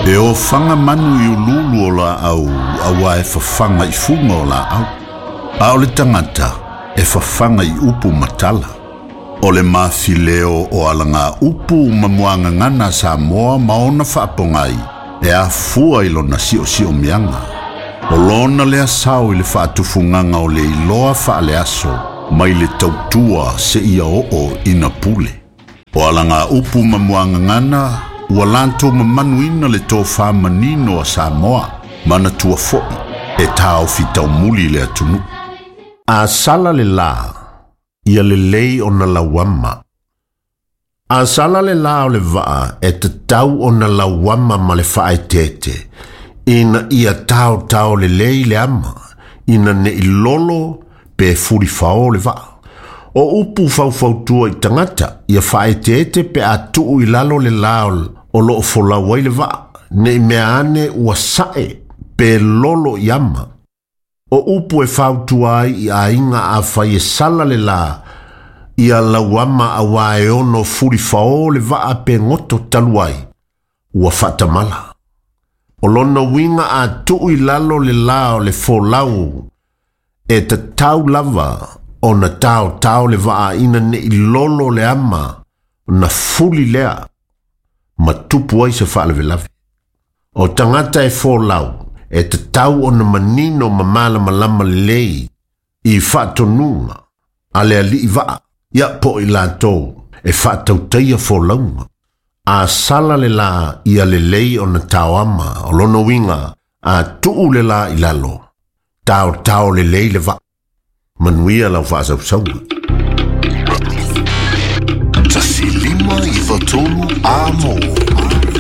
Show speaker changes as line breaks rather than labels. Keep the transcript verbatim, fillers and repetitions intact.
E ofaga manu i ululu o laau auā e fafaga i fuga o laau. A o le tagata e fafaga i upu ma tala. O le mafileo o alaga upu ma muagagana a Samoa ma ona faapogai e afua i lona siosiomiaga. O lona lea sao i le faatufugaga o le iloa faaleaso mai le tautua seia oo ina pule. O alaga upu ma muagagana ua latou mamanuina le tofā manino a Samoa manatua foʻi e taofi taumuli le atunuu. A sala le lā, ia lelei ona lauama. A sala le lā o le vaa e tatau ona lauama ma le faaeteete, ina ia taotao lelei le ama, ina nei lolo pe fulifao le vaa. O upu faufautua i tagata, ia faaeteete pe a tuu i lalo le lā o loo folau ai le vaa, nei mea ane ua sae pe lolo i ama. O upu e fautua ai i aiga afai e sala le lā, ia lauama auā e ono fulifao le vaa pe goto talu ai, ua faatamala. O lona uiga a tuu i lalo le lā o le folau, e tatau lava ona taotao le vaa ina nei lolo le ama, na fuli lea, ma tupu ai se faalavelave. O tagata e folau, e tatau ona manino ma malamalama lelei i faatonuga a le alii vaa, ia po o i latou e faatautaia folauga. A sala le lā ia lelei ona taoama o lona uiga a tuu le lā i lalo, taotao lelei le vaa. Manuia lau faasausauga.
Tasi lima iva tolu a mo.